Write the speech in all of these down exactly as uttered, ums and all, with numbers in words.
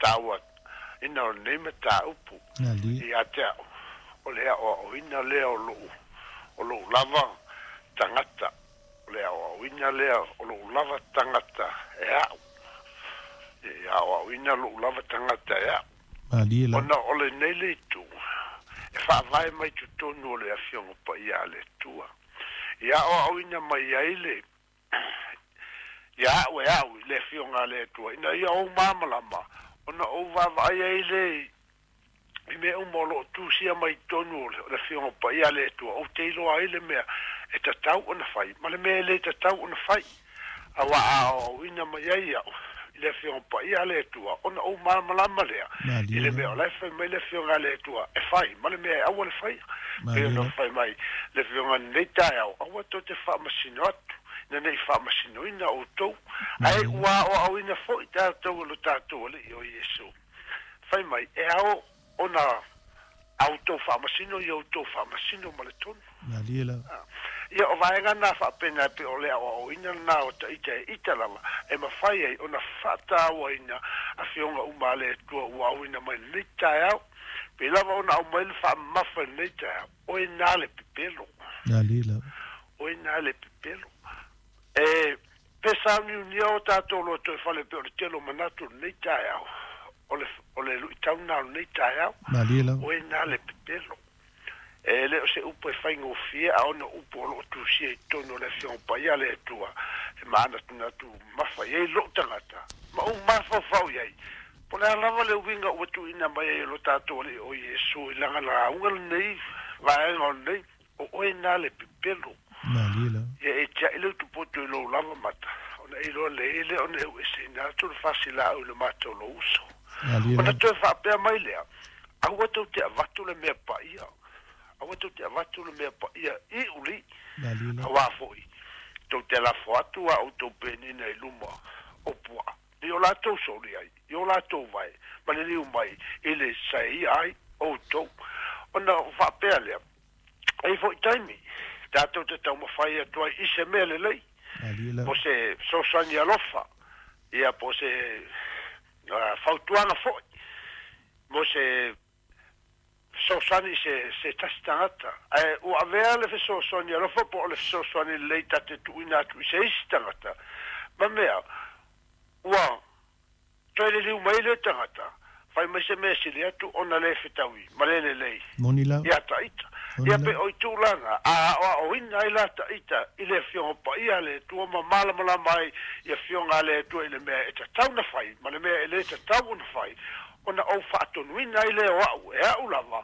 faataua ina o lenei mataupu ia te a'u o le aʻoaʻoina lea o lo'u o lo'u lava tagata o le aʻoaʻoina lea o lo'u lava tagata e a'u e aʻoaʻoina lo'u lava tagata e a'u ona o lenei le itu e faavae mai totonu o le afioga paia a le Atua ia aʻoaʻoina mai ai le ia a'u e a'u i le afioga a le Atua ina ia ou malamalama ona ou vaavaai ai le i mea uma o loo tusia mai tonu o le afioga paia a le Atua ou te iloa ai le mea e tatau ona fai ma le mea e lē tatau ona fai auā a aoaoina mai ai a'u i le afioga paia a le Atua ona ou malamalama lea i le mea o lae fai mai le afioga a le Atua e fai ma le mea e aua le faia pei ona fai mai le afioga lenei taeao aua tou te faamasino atu ina nei faamasinoina outou ae ua aoaoina fo'i tatou e lo tatou alii o Iesu fai mai e ao ona a outou faamasino ia outou faamasino ma le tonu. Ia o vaega na faapena pe o le aoaoina lena o taʻita e ita lava e mafai ai ona faatauaina afioga uma a le Atua ua auina mai lenei taeao pe lava ona aumai le faamamafa i lenei taeao oe na le pepelo oe na le pepelo e pe sauniunia o tatou loto e fale pe o le tele o manatu o lenei taeao o le o le luʻitau lena o lenei taeao oe na le pepelo e le o se upu e faigofie a ona upu o loo tusia i totonu o le afioga paia a le Atua e manatunatu mafa i ai lo'u tagata ma ou mafaufau i ai po le a lava le uiga ua tuuina mai ai e lo tatou alii o Iesu i laga lauga lenei vaega o lenei o oe na le pepelo ia e tia'i le utupoto i lou lava mata ona e iloa lelei lea ona e u'eseina atu le fasilaau i le mata o lou uso ona toe faapea mai lea aua tou te avatu le mea paia aua tou te avatu le mea paia i uli auā fo'i tou te lafo atu a outou penina i luma o puaa i o latou soli ai i o latou vae ma liliu mai i le saeia ai outou ona faapea lea ai fo'i taimi tatou te taumafai atu ai i se mea lelei po se fesoasoani alofa ia po se fautuaga fo'i mo se fesoasoani i se se tasi tagata ae ua avea le fesoasoani alofa po o le fesoasoani lelei tate tuuina atu i se isi tagata ma mea ua toe liliu mai le tagata fai mai se mea sili atu ona lē fetaui ma le lelei ia taʻita ia pe o i tulaga a aʻoaʻoina ai la taʻita i le afioga paia a le Atua ma malamalama ai i afioga a le Atua i le mea e tatau na fai ma le mea e lē tatau ona fai ona ou faatonuina ai lea o a'u e a'u lava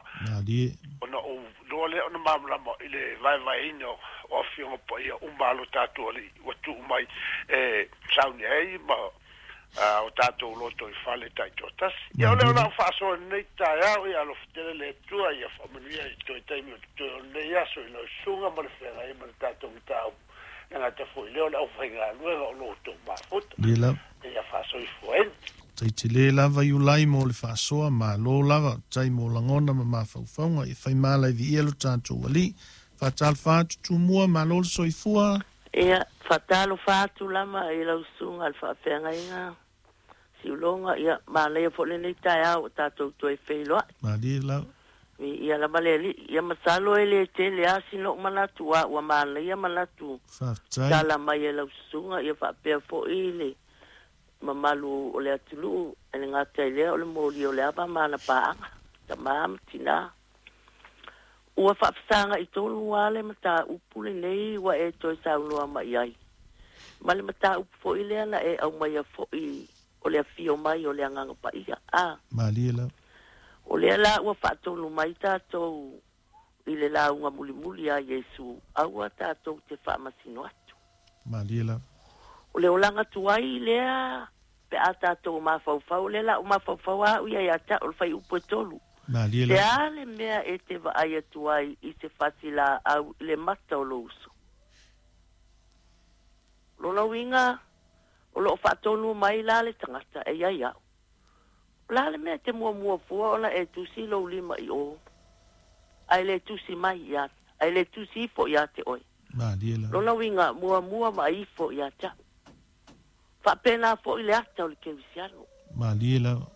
ona ou iloa lea ona malamalama i le vaevaeina o afioga paia uma a lo tatou alii ua tuu mai e sauni ai ma o tatou loto i fale taitoatasi. Ia o lea o lau faasoa i lenei taeao ia alofa tele le Atua ia faamanuia i toe taimi o totoe o lenei aso i lau susuga ma le feagai ma le tatou mataupu e gata foi lea o le aufaigaluega o lo outou mafuta ia faasoifuaina. Taitele lava Iulai mo le faasoa malo lava tai mo lagona ma mafaufauga e faimala i viia lo tatou alii faatalofa atu Tumua malo le soifua. Ia faatalofa atu lava i lau susuga le faafeagaiga Siuloga ia manaia foi lenei taeao ua tatou toe feiloai. Malie lava. Ia lava le alii ia masalo e lē tele lava sina ou manatu a ua manaia manatu tala mai e lau susuga ia faapea foʻi le mamalu o le atunuu e le gata i lea o le moli o le ava ma ana paaga tamā ma tinā ua faafesagaʻi tonu lava le mataupu lenei ua e toe saunoa mai ai ma le mataupu foʻi lea na e aumaia foʻi o le afio mai o le Agaga Paia a Malie lava. O lea la ua faatonu mai tatou i le lauga mulimuli a Iesu aua tatou te faamasino atu. Malie lava. O le olaga tuai lea pe a tatou mafaufau lea la o mafaufau a'u ia ia te a'u o le faiupu e tolu. Malie Le lava. a le mea e te vaai atu ai i se fasilaau i le mata o lou uso. Lona uiga o loo faatonu mai la le tagata e iai a'u. O la le mea e te muamua fua ona e tusi lou lima i o ae le tusi mai ia ae le tusi ifo ia te oe. Malie lava. Lona uiga muamua ma ifo ia te a'u. Faapena foʻi le ata o le kerisiano. Malie lava.